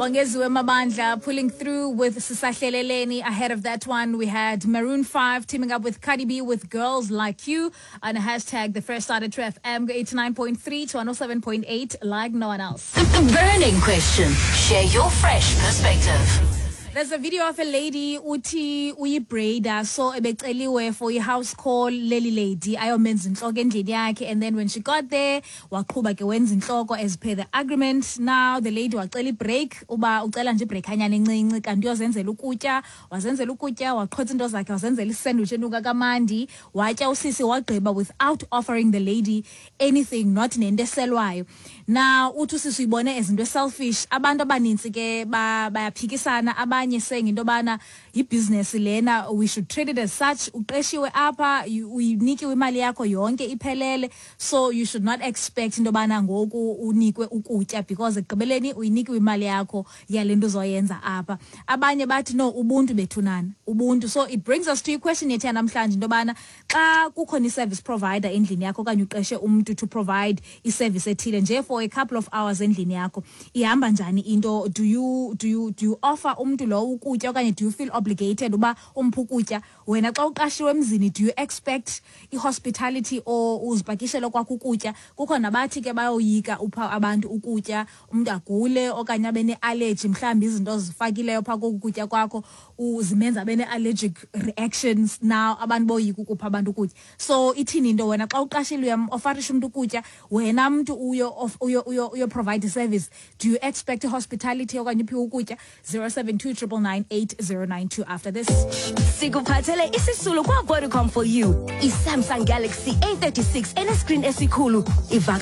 Bongeziwe Mabandla pulling through with Sisahleleleni. Ahead of that one, we had Maroon 5 teaming up with Cardi B with Girls Like You and hashtag the fresh start at FM 89.3 to 107.8 like no one else. The burning question. Share your fresh perspective. There's a video of a lady uthi uyibraider, so ebeceliwe for i-house call leli lady ayomenza inhloko endlini yakhe, and then when she got there waqhuba ke wenza inhloko as per the agreement. Now the lady wacela ibreak, uba ucela nje ibreak anyana encinci kanti uyozenzela ukutya. Wazenzela ukutya, waqhotsa into zakhe, wazenzela isandwich enuka kamandi, watya usisi wagqiba without offering the lady anything, not nento eselwayo. Now uthi usisi uyibone as into selfish. Abantu abanintsi ke bayaphikisana, abanye saying into yobana yibhizinesi lena, we should treat it as such. Uqeshiwe apha, uyinikiwe imali yakho yonke iphelele, so you should not expect into yobana ngoku unikwe ukutya because ekugqibeleni uyinikiwe imali yakho yale nto uzoyenza apha. Abanye bathi no, ubuntu bethunana, ubuntu. So it brings us to iquestion yethu yanamhlanje, into yobana xa kukhona i-service provider endlini yakho okanye uqeshe umntu to provide iservice ethile nje for a couple of hours endlini yakho, ihamba njani into? Do you offer umntu lowo ukutya okanye do you feel obligated uba umphe ukutya? Wena xa uqashiwe emzini, do you expect i-hospitality or uzipakishele kwakho ukutya? Kukho nabathi ke bayoyika upha abantu ukutya, umntu agule okanye abe ne-allergy, mhlawumbi izinto ozifakileyo phaa koku kutya kwakho zimenza abe ne-allergic reactions. Now abantu boyika ukupha abantu ukutya. So ithini into wena xa uqashile, uyam-offerisha umntu ukutya? Wena mntu uyo provide service, do you expect i-hospitality okanye uphiwe ukutya? 072 999 8092 after this. Sikuphathele isisulu kwa-Vodacom for you, i-Samsung Galaxy A36 enescreen esikhulu ivaka.